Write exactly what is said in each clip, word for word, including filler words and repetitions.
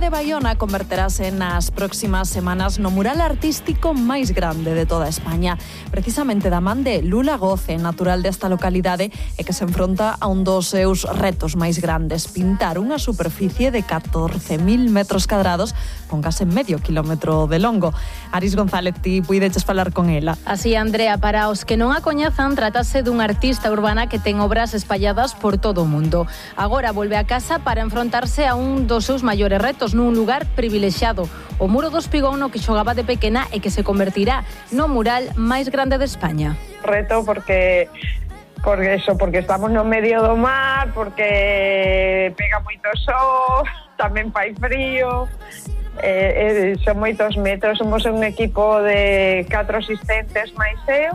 de Baiona converterase nas próximas semanas no mural artístico máis grande de toda España. Precisamente da man de Lula Goce, natural desta localidade, e que se enfronta a un dos seus retos máis grandes, pintar unha superficie de catorce mil metros cadrados con case medio kilómetro de longo. Aris González, ti puideches falar con ela. Así, Andrea, para os que non a coñezan, trátase dun artista urbana que ten obras espalladas por todo o mundo. Agora volve a casa para enfrontarse a un dos seus maiores retos nun lugar privilexiado, o Muro do Espigón, no que xogaba de pequena e que se convertirá no mural máis grande de España. Reto porque porque eso, porque estamos no medio do mar, porque pega moito sol, tamén fai frío. Eh, eh, son moitos metros, somos un equipo de catro asistentes máis eu.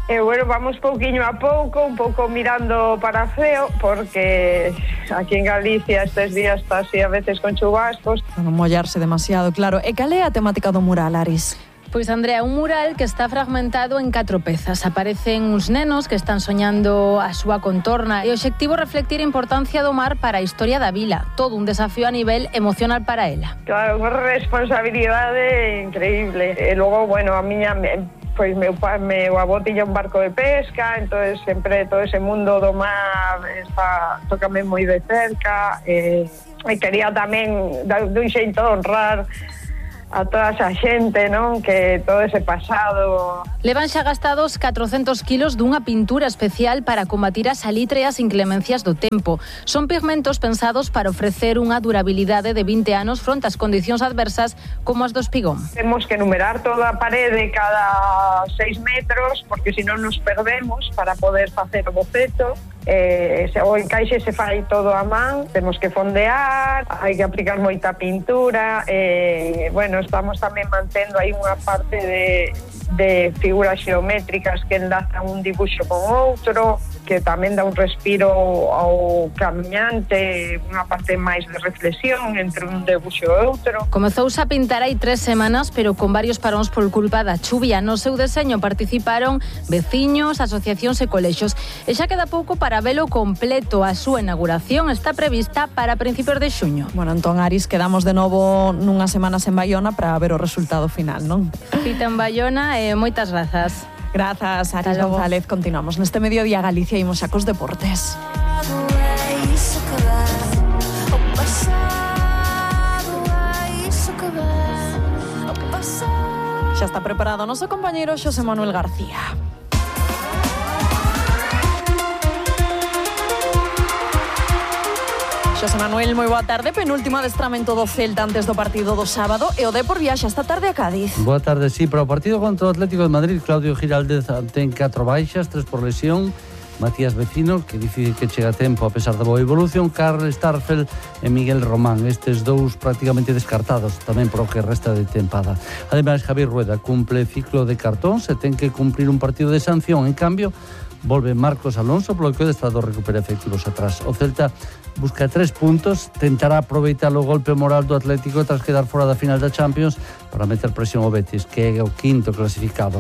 E, bueno, vamos pouquiño a pouco, un pouco mirando para feo, porque aquí en Galicia estes días está así a veces con chubascos. Non mollarse demasiado, claro. E cal é a temática do mural, Aris? Pois, Andrea, un mural que está fragmentado en catro pezas. Aparecen uns nenos que están soñando a súa contorna e o obxectivo é reflectir a importancia do mar para a historia da vila. Todo un desafío a nivel emocional para ela. Claro, unha responsabilidade increíble. E logo, bueno, a miña... Pois meu pai, meu avó tiña un barco de pesca, entonces sempre todo ese mundo do mar está, tócame moi de cerca, e, e quería tamén dun xeito honrar a toda esa xente, non? Que todo ese pasado... Levan xa gastados catrocentos kilos dunha pintura especial para combatir a salitre e as inclemencias do tempo. Son pigmentos pensados para ofrecer unha durabilidade de vinte anos fronte ás condicións adversas como as do Espigón. Temos que numerar toda a parede cada seis metros, porque senón nos perdemos para poder facer o boceto. Eh, se, o encaixe se fai todo a man, temos que fondear, hai que aplicar moita pintura, e, bueno, estamos tamén mantendo aí unha parte de, de figuras xeométricas que enlazan un dibuixo con outro, que tamén dá un respiro ao camiñante, unha parte máis de reflexión entre un debuxo e outro. Comezouse a pintar hai tres semanas, pero con varios paróns por culpa da chuvia. No seu deseño participaron veciños, asociacións e colexos. E xa queda pouco para velo completo. A súa inauguración está prevista para principios de xuño. Bueno, entón, Aris, quedamos de novo nunhas semanas en Baiona para ver o resultado final, non? Cita en Baiona e moitas grazas. Grazas, Aris González. Continuamos neste Mediodía Galicia e imos xa cos deportes. Xa está preparado o noso compañeiro Xosé Manuel García. Xosé Manuel, moi boa tarde. Penúltimo adestramento do Celta antes do partido do sábado e o Depor viaxa esta tarde a Cádiz. Boa tarde, sí, para o partido contra o Atlético de Madrid, Claudio Giraldez ten catro baixas, tres por lesión. Matías Vecino, que difícil que chega a tempo a pesar da boa evolución, Karl Starfelt e Miguel Román, estes dous prácticamente descartados tamén por o que resta de tempada. Ademais, Javier Rueda cumple ciclo de cartón, se ten que cumplir un partido de sanción. En cambio, volve Marcos Alonso, polo que o Estado recupera efectivos atrás. O Celta busca tres puntos, tentará aproveitar o golpe moral do Atlético tras quedar fora da final da Champions para meter presión ao Betis, que é o quinto clasificado.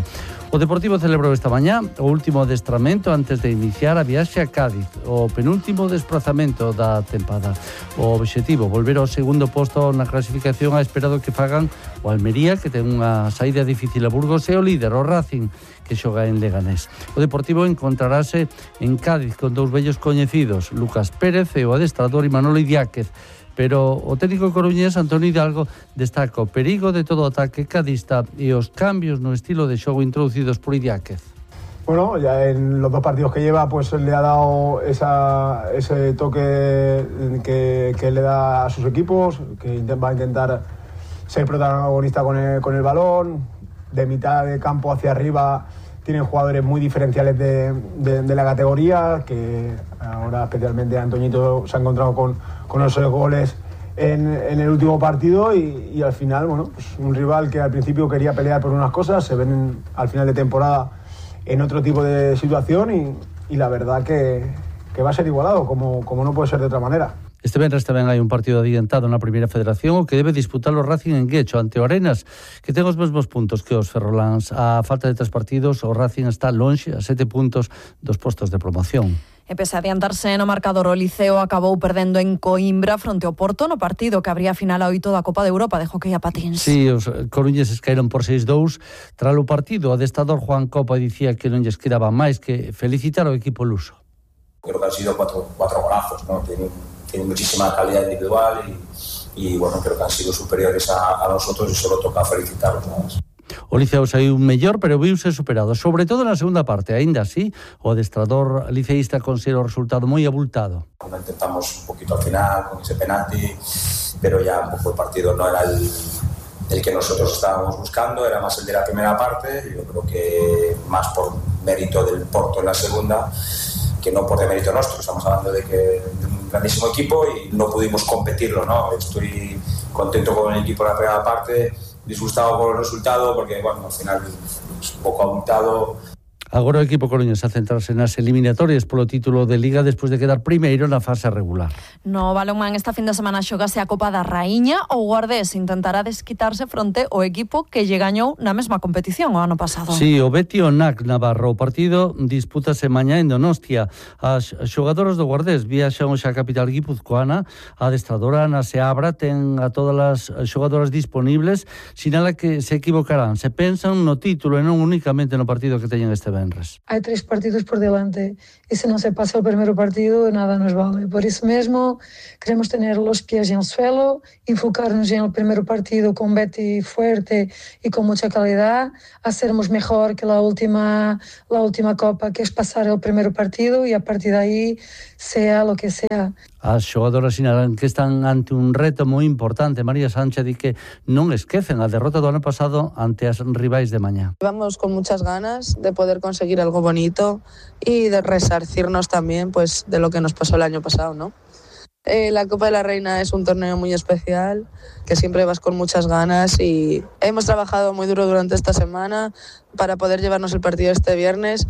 O Deportivo celebrou esta mañá o último adestramento antes de iniciar a viaxe a Cádiz, o penúltimo desplazamento da tempada. O obxectivo, volver ao segundo posto na clasificación a espera do que fagan o Almería, que ten unha saída difícil a Burgos, e o líder, o Racing, que xoga en Leganés. O Deportivo encontrarase en Cádiz con dous vellos coñecidos, Lucas Pérez e o adestrador Imanol Idiáquez, pero o técnico coruñés Antonio Hidalgo destaca o perigo de todo o ataque cadista e os cambios no estilo de xogo introducidos por Idiáquez. Bueno, ya en los dos partidos que lleva, pues le ha dado esa, ese toque que, que le da a sus equipos, que va a intentar ser protagonista con el, con el balón, de mitad de campo hacia arriba. Tienen jugadores muy diferenciales de, de, de la categoría, que ahora especialmente Antoñito se ha encontrado con, con esos goles en, en el último partido y, y al final, bueno, pues un rival que al principio quería pelear por unas cosas, se ven en, al final de temporada en otro tipo de situación y, y la verdad que, que va a ser igualado, como, como no puede ser de otra manera. Este venres tamén hai un partido adiantado na primeira federación, o que debe disputar o Racing en Guecho ante o Arenas, que ten os mesmos puntos que os ferroláns. A falta de tres partidos, o Racing está lonxe a sete puntos dos postos de promoción. E pese a adiantarse no marcador, o Liceo acabou perdendo en Coimbra fronte ao Porto no partido que abría a final a oito da Copa de Europa de Hockey a patins. Sí, os coruñeses caíron por seis dous. Tras o partido, o adestrador Juan Copa dicía que non lles quedaba máis que felicitar ao equipo luso. Creo que han sido cuatro, cuatro golazos, ¿no? Tienen, tienen muchísima calidad individual y, y bueno, creo que han sido superiores a, a nosotros y solo toca felicitarlos nada más. O Liceo saiu mellor, pero viuse superado, sobre todo na segunda parte. Aínda así, o adestrador liceísta considera o resultado moi abultado. Intentamos un poquito al final con ese penalti, pero ya un poco el partido no era el, el que nosotros estábamos buscando, era más el de la primera parte. Yo creo que más por mérito del Porto en la segunda que no por mérito nuestro. Estamos hablando de que de un grandísimo equipo y no pudimos competirlo, ¿no? Estoy contento con el equipo en la primera parte, disgustado por el resultado porque, bueno, al final es un poco abultado. Agora o equipo coruñés a centrarse nas eliminatorias polo título de Liga despois de quedar primeiro na fase regular. No balonmán esta fin de semana xogase a Copa da Raíña. O Guardés intentará desquitarse fronte ao equipo que lle gañou na mesma competición o ano pasado. Sí, o Betis Nac Navarro. O partido dispútase mañá en Donostia. As xogadoras do Guardés viaxan hoxe a capital guipuzcoana. A adestradora Ana Seabra ten a todas as xogadoras disponibles. Sinala que se equivocarán, se pensan no título e non únicamente no partido que teñen este venres. Hay tres partidos por delante y si no se pasa el primer partido nada nos vale. Por eso mismo queremos tener los pies en el suelo, enfocarnos en el primer partido con Betty fuerte y con mucha calidad, hacernos mejor que la última, la última copa, que es pasar el primer partido y a partir de ahí sea lo que sea. As xogadoras sinalan que están ante un reto moi importante. María Sánchez di que non esquecen a derrota do ano pasado ante as rivais de mañá. Vamos con muchas ganas de poder conseguir algo bonito y de resarcirnos también pues de lo que nos pasó el año pasado, ¿no? Eh, la Copa de la Reina es un torneo muy especial, que siempre vas con muchas ganas y hemos trabajado muy duro durante esta semana para poder llevarnos el partido este viernes,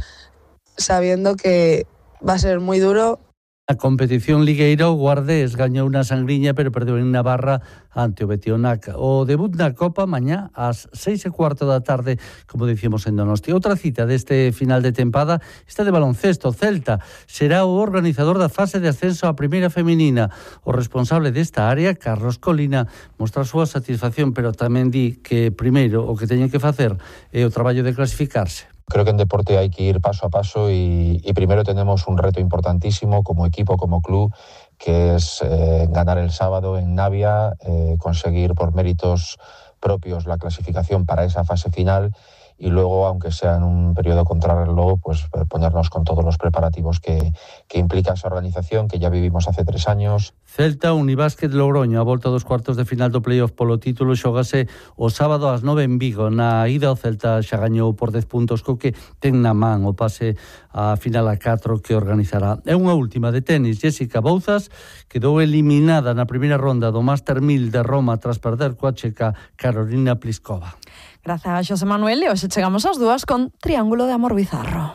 sabiendo que va a ser muy duro. A competición ligueira, o Guardés gañou na Sangriña, pero perdeu en Navarra ante o Betionac. O debut na Copa mañá ás seis e cuarto da tarde, como dicimos en Donosti. Outra cita deste final de tempada, esta de baloncesto. Celta será o organizador da fase de ascenso á primeira feminina. O responsable desta área, Carlos Colina, mostra a súa satisfacción, pero tamén di que primeiro o que teñen que facer é o traballo de clasificarse. Creo que en deporte hay que ir paso a paso y, y primero tenemos un reto importantísimo como equipo, como club, que es eh, ganar el sábado en Navia, eh, conseguir por méritos propios la clasificación para esa fase final y luego, aunque sea en un periodo contrarreloj, pues ponernos con todos los preparativos que, que implica esa organización que ya vivimos hace tres años. Celta, Unibásquet, Logroño, a volta dos cuartos de final do playoff polo título xógase o sábado ás nove en Vigo. Na ida o Celta xa gañou por dez puntos, co que ten na man o pase a final a catro que organizará. É unha última de tenis. Jessica Bouzas quedou eliminada na primeira ronda do Master mil de Roma tras perder coa checa Carolina Pliskova. Grazas, Xosé Manuel. E hoxe chegamos ás dúas con Triángulo de Amor Bizarro.